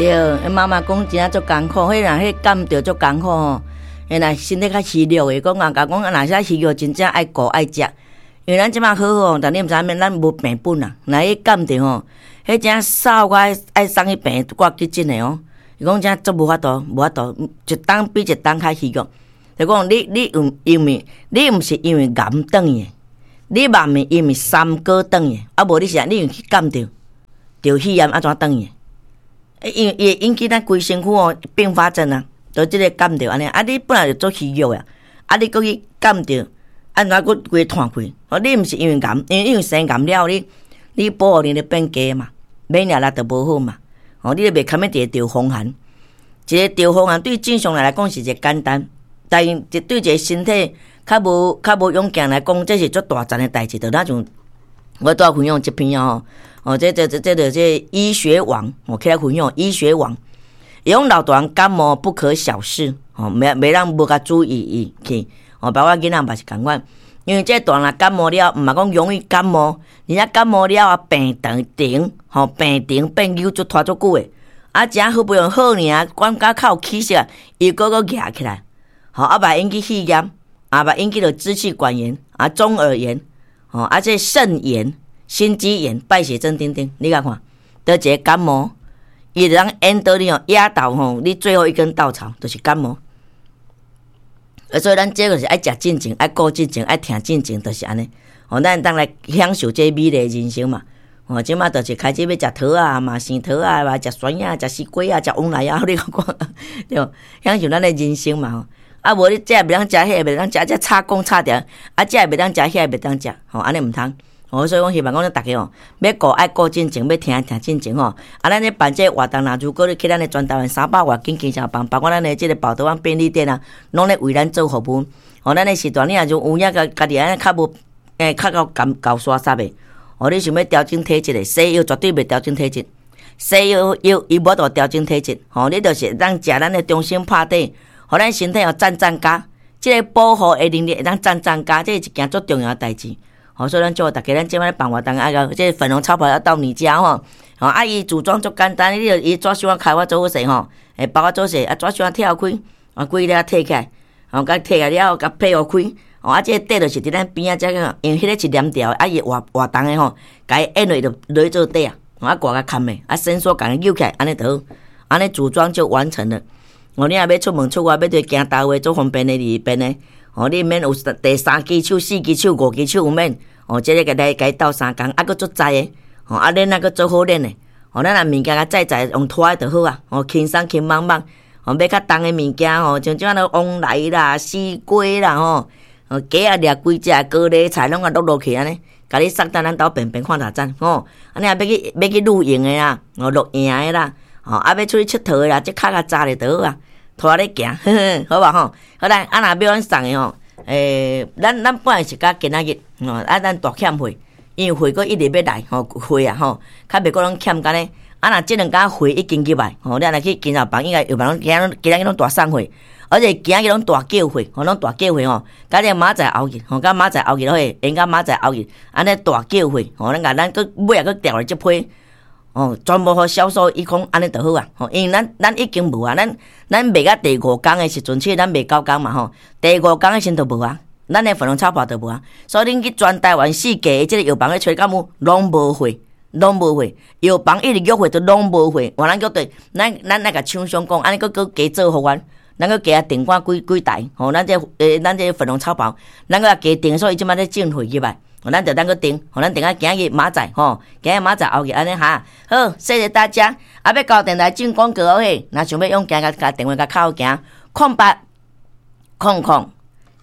對，媽媽講真正足艱苦，彼若彼感著足艱苦吼，彼若身體較虛弱的，講人共講，若是虛弱，真正愛顧愛食。因為咱這擺好好，但你毋知影咱無病本啊。若彼感著吼，彼真掃我愛送去病院掛急診的哦。伊講真足無法度，無法度，一冬比一冬較虛弱。就講你有因為你毋是因為癌轉去的，你嘛毋是因為三高轉去的，啊無你是你因為去感著著肺炎按怎轉去的？因為伊會引起咱規身軀哦併發症啊，就這个感著按呢。啊，你本來就足虛弱啊，啊你閣去感著，按怎閣規喘氣？哦，你毋是因為癌，因為生癌了後，你保護能力變低嘛，免疫力就無好嘛。哦，你就袂堪欲一個著風寒，一个著風寒對正常人來講是一个簡單，但是對一個身體較無勇健來講，這是足大層的代誌。就若像我拄仔分享這篇哦，哦，這醫學網，我起來分享醫學網，伊講老大人感冒不可小視，哦，袂當無共注意伊去，哦，包括囡仔嘛是仝款，因為這大人感冒了，毋嘛講容易感冒，而且感冒了啊病長停，吼病程變久足拖足久的，啊，誠好不容易好爾，感覺較有起色，又閣閣夯起來，吼啊，嘛引起肺炎，啊，嘛引起著支氣管炎，啊，中耳炎，吼啊，這腎炎、心肌炎、敗血症等等，你共看，著一个感冒，伊會當引導你哦，壓倒吼你最後一根稻草，就是感冒。啊，所以咱這個是愛食進前，愛顧進前，愛疼進前，就是按呢。吼，咱會當來享受這美麗人生嘛。吼，這馬就是開始欲食桃仔嘛，生桃仔嘛，食酸仔，食西瓜仔，食黃梨仔，你看對，享受咱的人生嘛吼。啊，無你這袂當食，彼个袂當食，這插講插著，啊，這袂當食，彼个袂當食，吼，按呢毋通。吼，所以講希望講咱逐家吼，欲顧愛顧進前，欲疼疼進前吼。啊，咱咧辦這个活動，若如果你去咱的全台灣300外間經銷房，包括咱的這个寶特灣便利店啊，攏咧為咱做服務。吼，咱的時段你若有影家家己按呢較無，較夠厚夠沙濕的，吼，你想欲調整體質的，西藥絕對袂調整體質，西藥藥伊無法度調整體質。吼，你就是當食咱的中心拍底，予咱身體哦讚增加，這个保護的能力會當讚增加，這是一件足重要的代誌。吼，所以咱祝大家，咱這擺辦活動啊，這個粉紅超跑要到你家吼，吼啊，伊組裝足簡單，你就伊紙箱仔開我做好勢吼，會包我做勢，啊紙箱仔拆開，啊規个摕起來，吼，共摕來了後，共配合開，吼啊，這個底就是佇咱邊仔這個，因為彼个是黏牢的，啊伊活活動的吼，共伊按落就落去做底啊，啊掛共崁的，啊伸縮共伊扭起來，按呢就好，按呢組裝就完成了。哦，你若欲出門出外，欲佇行大話足方便的，裡邊的，哦，你免有第三支手、四支手、五支手有免。哦，這个共來共伊鬥相共，啊，閣足載的，吼，啊，鏈仔閣足好鏈的，吼，咱若物件共載載用拖的就好啊，吼，輕鬆輕茫茫，吼，欲較重的物件吼，像這款黃梨啦、西瓜啦，吼，哦，雞仔掠幾隻高麗菜攏共落落去按呢，共你送到咱兜便便看偌讚，吼，啊，你若欲去欲去露營的啦，哦，露營的啦，吼，啊，欲出去𨑨迌的啦，這較共紮咧就好啊，拖咧行，呵呵，好無吼？好來，啊，若欲阮送的吼。咱本來是甲今仔日，吼，啊，咱大欠貨，因為貨閣一直欲來，吼，貨啊，吼，較袂閣攏欠按呢。啊，若這兩工貨已經入來，吼，你若去經銷房，應該藥房攏今仔日攏大送貨，而且今仔日攏大叫貨，吼，攏大叫貨吼，共這個明仔載後日，吼，共明仔載後日落去，延到明仔載後日，按呢大叫貨，吼，咱共咱閣尾仔閣調來這批。哦，全部予銷售一空，按呢就好啊！吼，因為咱已經無啊，咱賣到第五工的時陣，其實咱賣9工嘛吼，第五工的時陣就無啊，咱的粉紅超跑就無啊。所以恁去全台灣四界的這個藥房咧揣，敢有攏無貨，攏無貨。藥房一直約貨都攏無貨，換咱叫對，咱愛共廠商講，按呢閣閣加做予阮，咱閣加訂看幾幾台，吼，咱這粉紅超跑，咱閣加訂，所以這擺咧進貨入來。咱就等閣訂，予咱訂啊今日明仔載吼，今日明仔載後日按呢哈。好，謝謝大家。啊，欲到電台進廣告嘿，若想欲用行共共電話共敲行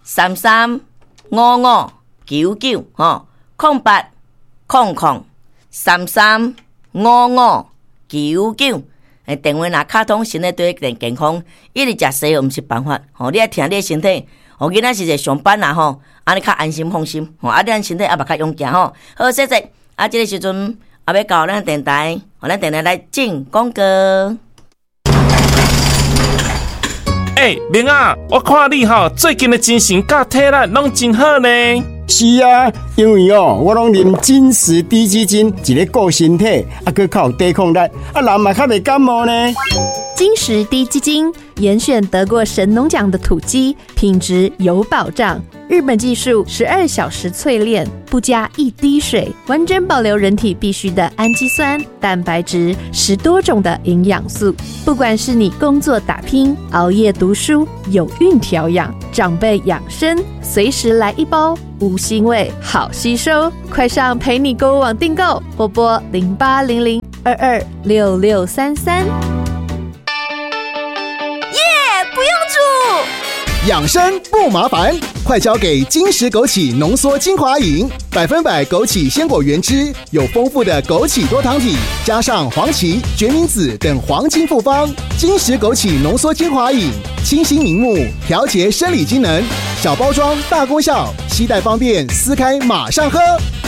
，0800335599吼，0800335599。電話若敲通，身體對健康，一直食西藥毋是辦法，吼，你愛疼你的身體。吼，囡仔是一個上班啦吼，按呢較安心放心，吼，啊，咱身體也嘛較勇健吼。好，謝謝。啊，這個時陣啊，欲到咱電台，予咱電台來進廣告。欸，明仔，我看你吼最近的精神佮體力攏真好呢。是啊，因為哦，我攏啉金石滴雞精，一咧顧身體，啊，閣較有抵抗力，啊，人嘛較袂感冒呢。金石滴雞精，嚴選得過神農獎的土雞，品質有保障。日本技術，12小時淬煉，不加一滴水，完整保留人體必需的氨基酸、蛋白質，10多種的營養素。不管是你工作打拼、熬夜讀書、有孕調養、長輩養生，隨時來一包，無腥味，好吸收。快上陪你購物網訂購，或撥0800226633。耶！不用煮，養生不麻煩，快交給金石枸杞濃縮精華飲，100%枸杞鮮果原汁，有豐富的枸杞多糖體，加上黃芪、決明子等黃金複方，金石枸杞濃縮精華飲，清新明目，調節生理機能，小包裝大功效，攜帶方便，撕開馬上喝。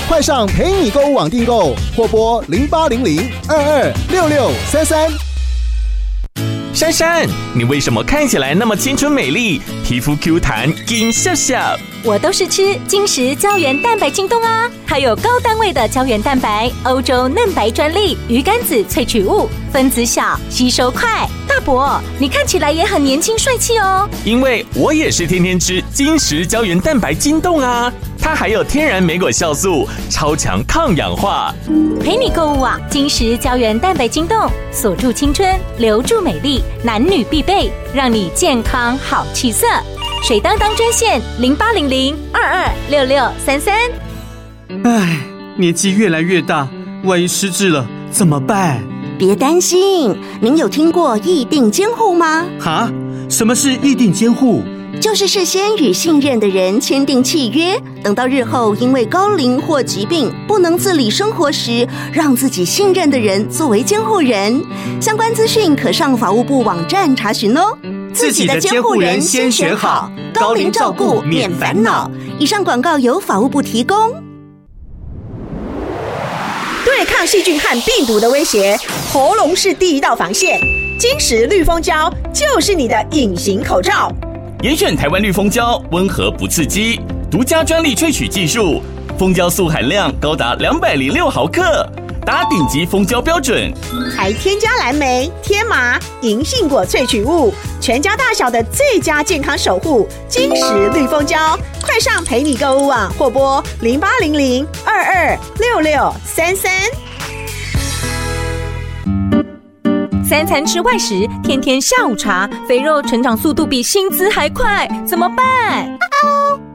快上陪你購物網訂購，或撥0800226633。珊珊，你為什麼看起來那麼青春美麗，皮膚 Q 彈，金笑笑？我都是吃金石膠原蛋白精凍啊，它有高單位的膠原蛋白，歐洲嫩白專利魚肝子萃取物，分子小，吸收快。大伯，你看起來也很年輕帥氣哦。因為我也是天天吃金石膠原蛋白精凍啊，它還有天然莓果酵素，超強抗氧化。陪你購物網，金石膠原蛋白精凍，鎖住青春，留住美麗，男女必備，讓你健康好氣色。水當當專線0800226633。唉，年紀越來越大，萬一失智了怎麼辦？別擔心，您有聽過意定監護嗎？哈？什麼是意定監護？就是事先與信任的人簽訂契約，等到日後因為高齡或疾病不能自理生活時，讓自己信任的人作為監護人。相關資訊可上法務部網站查詢哦。自己的監護人先選好，高齡照顧免煩惱。以上廣告由法務部提供。對抗細菌和病毒的威脅，喉嚨是第一道防線。金石綠蜂膠就是你的隱形口罩。嚴選台灣綠蜂膠，溫和不刺激，獨家專利萃取技術，蜂膠素含量高達206毫克，達頂級蜂膠標準。還添加藍莓、天麻、銀杏果萃取物，全家大小的最佳健康守護。金石綠蜂膠，快上陪你購物網或撥0800226633。三餐吃外食，天天下午茶，肥肉成長速度比薪資還快，怎麼辦？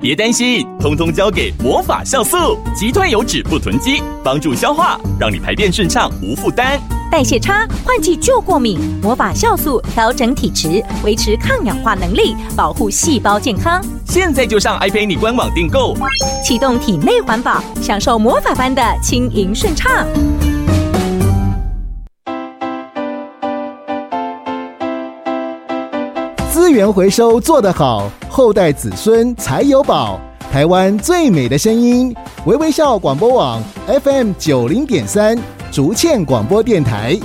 別擔心，通通交給魔法酵素，擊退油脂不囤積，幫助消化，讓你排便順暢無負擔。代謝差，換季就過敏，魔法酵素調整體質，維持抗氧化能力，保護細胞健康。現在就上 iPayme 官網訂購，啟動體內環保，享受魔法般的輕盈順暢。資源回收做得好，後代子孫才有寶。台灣最美的聲音，微微笑廣播網 FM 90.3，竹塹廣播電台。